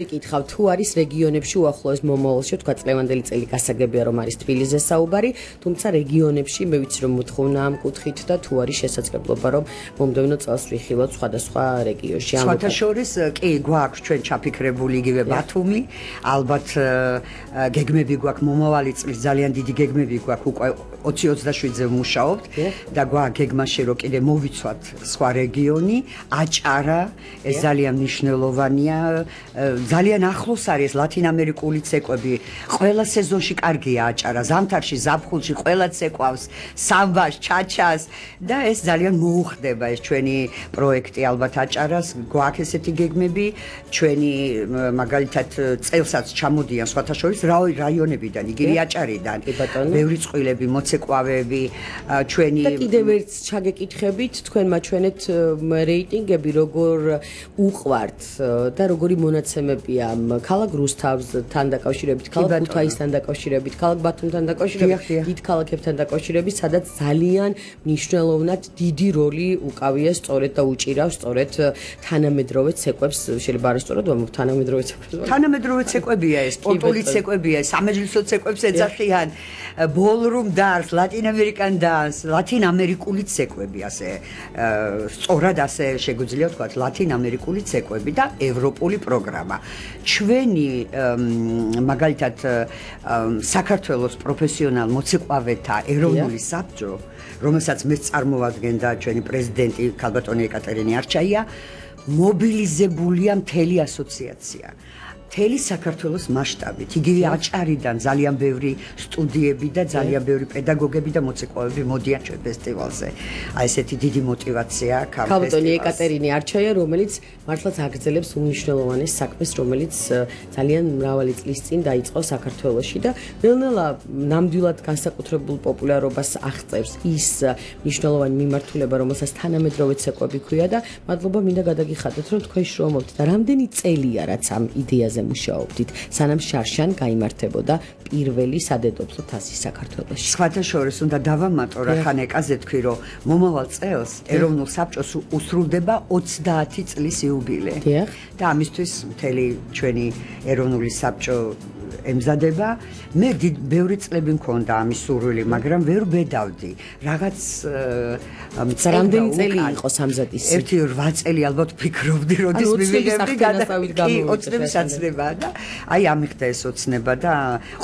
Გითხავ თუ არის რეგიონებში უახლოეს მომავალში თქვა წლევანდელი წელი გასაგებია რომ არის თბილისზე საუბარი, თუმცა რეგიონებში მე ვიცი რომ მოთხოვნა ამ კუთხით და თუ არის შესაძლებლობა რომ მომდევნო წელს ვიხილოთ სხვადასხვა რეგიონში. სხვათა შორის კი გვაქვს ჩვენ ჩაფიქრებული იგივე ბათუმი, ალბათ გეგმები გვაქვს მომავალი წლის ძალიან დიდი გეგმები გვაქვს უკვე 2027-ზე ვმუშაობთ და გვაქვს გეგმაში რომ კიდე მოვიცვათ სხვა რეგიონი, აჭარა, ეს ძალიან მნიშვნელოვანია. ძალიან ახლოს არის ლათინამერიკული ცეკვები. ყველა სეზონში კარგია აჭარა. ზამთარში, ზაფხულში ყველა ცეკვავს, სამბას, ჩაჩას და ეს ძალიან მოუხდება ეს ჩვენი პროექტი ალბათ აჭარას. გვაქვს ესეთი გეგმები, ჩვენი მაგალითად წელსაც ჩამოდიან სხვათა შორის რაიონებიდან, იგივე აჭარიდან. ბევრი წყვილები, მოცეკვავები, ჩვენი და კიდევ ერთ ჩაგეკითხებით, თქვენ მაჩვენეთ რეიტინგები, როგორ უყვართ და როგორი მონაცემებია ქალაქ რუსთავთან დაკავშირებით, ქალაქ ქუთაისთან დაკავშირებით, ქალაქ ბათუმთან დაკავშირებით, დიდ ქალაქებთან დაკავშირებით, სადაც ძალიან მნიშვნელოვნად დიდი როლი უკავია სწორედ და უჭირავს სწორედ თანამედროვე ცეკვებს, შეიძლება არ სწორად ვამბობ თანამედროვე ცეკვებს. თანამედროვე ცეკვებია ეს, სპორტული ცეკვებია, სამეჯლისო ცეკვებს ეძახიან, ბოლრუმ დანს, ლათინამერიკან დანს, ლათინამერიკული ცეკვები ასე, სწორად ასე შეგვიძლია ვთქვათ, ლათინამერიკული ცეკვები და ევროპული პროგრამა. ჩვენი მაგალითად საქართველოს პროფესიონალ მოცეკვავეთა ეროვნული საბჭო, რომელსაც მეც წარმოვადგენდა ჩვენი პრეზიდენტი ქალბატონი ეკატერინე არჩაია, მობილიზებულია მთელი ასოციაცია. მთელი საქართველოს მასშტაბით, იგივე აჭარიდან ძალიან ბევრი სტუდიები და ძალიან ბევრი პედაგოგები და მოცეკვავები მოდიან ჩვენ ფესტივალზე. აი ესეთი დიდი мотиваცია ქალბატონი ქალბატონი ეკატერინე არჩაია, რომელიც მართლაც აგრძელებს უმნიშვნელოვანეს საქმეს, რომელიც ძალიან მრავალი წლის წინ დაიწყო საქართველოში და ნელ-ნელა ნამდვილად განსაკუთრებულ პოპულარობას აღწევს ის მნიშვნელოვანი მიმართულება, რომელსაც თანამედროვე ცეკვები ქვია და მადლობა მინდა გადაგიხადოთ, რომ თქვენ შრომობთ და რამდენი წელია რაც ამ იდეაზე მუშაობდით, სანამ შარშან გაიმართებოდა პირველი სადედოფლო თასი საქართველოში. სხვათა შორის უნდა დავამატო რა ხან ეკაზე თქვი რომ მომავალ წელს ეროვნულ საბჭოს უსრულდება 30 წლის იუბილე. და ამისთვის მთელი ჩვენი ეროვნული საბჭო ემზადება. მე ბევრი წლები მქონდა ამის სურვილი, მაგრამ ვერ ბედავდი. რაღაც რამდენი წელი იყო სამზადის? 1-8 წელი ალბათ ფიქრობდი, როდის მივიღებდი გადასავით ოცნების აცნება და აი ამიხდა ეს ოცნება და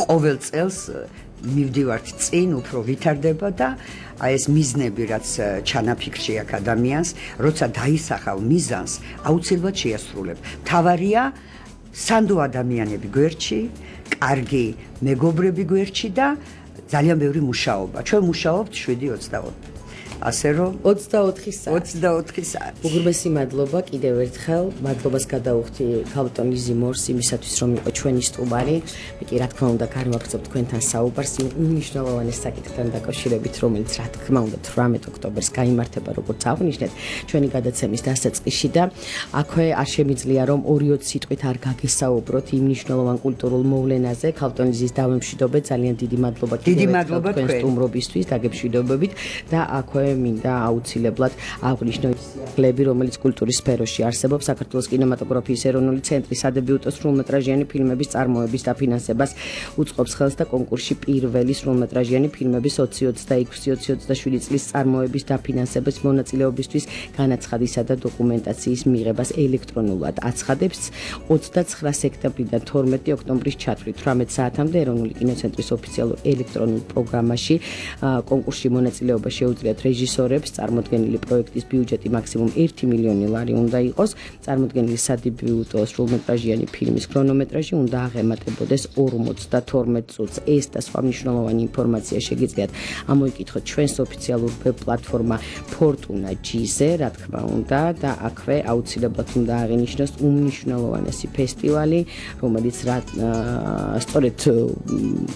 ყოველ წელს მივდივართ წინ, უფრო ვითარდება და აი ეს მიზნები, რაც ჩანაფიქრში აქვს ადამიანს, როცა დაისახავ მიზანს, აუცილებლად შეასრულებ. მთავარია სანდო ადამიანები გვერდში, კარგი მეგობრები გვერდში და ძალიან ბევრი მუშაობა. ჩვენ მუშაობთ 7-24. ასე რომ 24 საათი. უღრმესი მადლობა კიდევ ერთხელ, მადლობას გადაუხდი ქალბატონ ლიზი მორს იმისათვის რომ იყო ჩვენი სტუმარი. მე კი რა თქმა უნდა განვაგრძობ თქვენთან საუბარს იმ უმნიშვნელოვანეს საკითხთან დაკავშირებით, რომელიც რა თქმა უნდა 18 ოქტომბერს გაიმართება, როგორც აღნიშნეთ, ჩვენი გადაცემის დასაწყისში და აქვე არ შემიძლია რომ 2-20 სიტყვით არ გაგესაუბროთ იმ მნიშვნელოვან კულტურულ მოვლენაზე. ქალბატონ ლიზის დავემშვიდობეთ, ძალიან დიდი მადლობა თქვენ სტუმრობისთვის, დაგემშვიდობებით და აქვე მინდა აუცილებლად აღვნიშნო ის სიახლეები, რომელიც კულტურის სფეროში არსებობს. საქართველოს კინემატოგრაფიის ეროვნული ცენტრი სადებიუტო სრულმეტრაჟიანი ფილმების წარმოების დაფინანსებას უწყობს ხელს და კონკურსში პირველი სრულმეტრაჟიანი ფილმების 2026-2027 წლის წარმოების დაფინანსების მონაწილეობისთვის განაცხადისა და დოკუმენტაციის მიღებას ელექტრონულად აცხადებს 29 სექტემბრიდან 12 ოქტომბრის ჩათვლით 18 საათამდე ეროვნული კინოცენტრის ოფიციალურ ელექტრონულ პროგრამაში კონკურსში მონაწილეობა შეუძლიათ რეჟისორებს. წარმოდგენილი პროექტის ბიუჯეტი მაქსიმუმ 1 მილიონი ლარი უნდა იყოს. წარმოდგენილი სადებიუტო სრულმეტრაჟიანი ფილმის ქრონომეტრაჟი უნდა აღემატებოდეს 52 წუთს. ეს და სხვა მნიშვნელოვანი ინფორმაცია შეგიძლიათ ამოიკითხოთ ჩვენს ოფიციალურ ვებ პლატფორმა Fortuna G-ზე, რა თქმა უნდა, და აქვე აუცილებლად უნდა აღინიშნოს უმნიშვნელოვანესი ფესტივალი, რომელიც სწორედ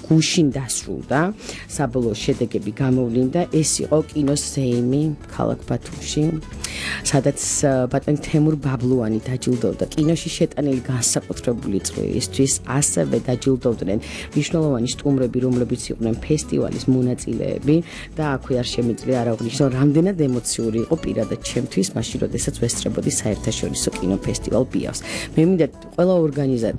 გუშინ დასრულდა. საბოლოო შედეგები გამოვლინდა. ეს იყო კინოს მუზეუმი ქალაქ ბათუმში, სადაც ბატონი თემურ ბაბლუანი დაჯილდოვდა კინოში შეტანილი განსაკუთრებული წვლილისთვის, ასევე დაჯილდოვდნენ მნიშვნელოვანი სტუმრები, რომლებიც იყვნენ ფესტივალის მონაწილეები და აქვე არ შემიძლია არ აღვნიშნო, რამდენად ემოციური იყო პირადად ჩემთვის, მაშინ როდესაც ვესწრებოდი საერთაშორისო კინოფესტივალ ბიავს. მე მინდა ყველა